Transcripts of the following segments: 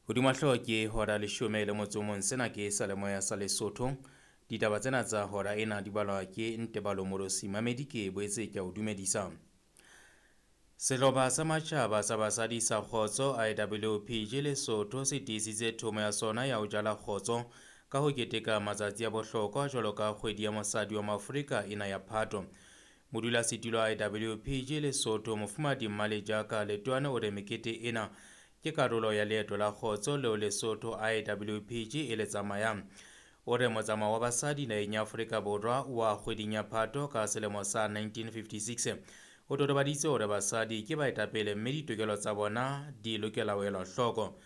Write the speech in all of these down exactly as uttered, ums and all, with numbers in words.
Hodima hlooho ke hora leshome le motso o mong. Sena ke Salemoya sa Lesotho. Ditaba tsena tsa hora ena di balwa ke Ntebalo Morosi. Mamedi ke boetse ke a o dumedisa. Sehlopha sa Matjhaba sa Basadi sa Kgotso I W P G Lesotho se tiisitse thomo ya sona ya ho jala kgotso ka ho keteka matsatsi a bohlokwa jwalo ka kgwedi ya mosadi wa Maafrika ena ya Phato. Modulasetulo wa I W P G Lesotho Mofumahadi Mmalejaka Letoane o re mekete ena ke karolo ya leeto la kgotso leo Lesotho I W P G e le tsamayang. O re motsamao wa basadi naheng ya Afrika Borwa wa kgweding ya Phato ka selemo sa nineteen fifty-six o totobaditse hore basadi ke baetapele mme ditokelo tsa bona di lokela ho elwa hloko.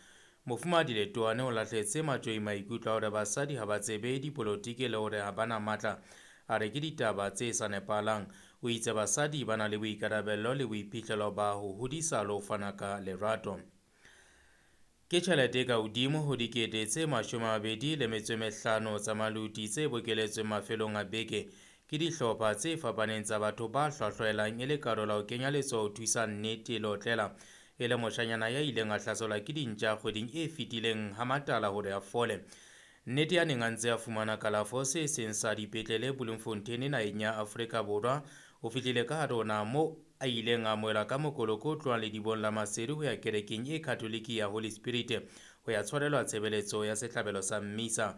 Mofumahadi Letoane o lahletse matjhoi maikutlo a hore basadi ha ba tsebe dipolotiki le hore ha ba na matla, a re ke ditaba tse sa nepahalang. O itse basadi ba na le boikarabello le boiphihlelo ba ho hodisa le ho fana ka lerato. Ke tjhelete e ka hodimo ho dikete tse mashome a mabedi le metso e mehlano tsa maluti tse bokeletsweng mafelong a beke ke dihlopha tse fapaneng tsa batho ba hlwahlwaelang e le karolo ya ho kenya letsoho ho thusa nnete le otlela e le moshanyana ya ileng a hlaselwa ke dintja kgweding e fetileng ha Matala hore a fole. Nnete ya neng a ntse a fumana kalafo se seng sa dipetlele Bloemfontein naheng ya Afrika Borwa o fihlile ka hare ho naha moo a ileng a amohelwa ka mokoloko o tlohang ledibong la Maseru ho ya kerekeng e Katholiki ya Holy Spirit ho ya tshwarelwa tshebeletso ya sehlabelo sa mmisa.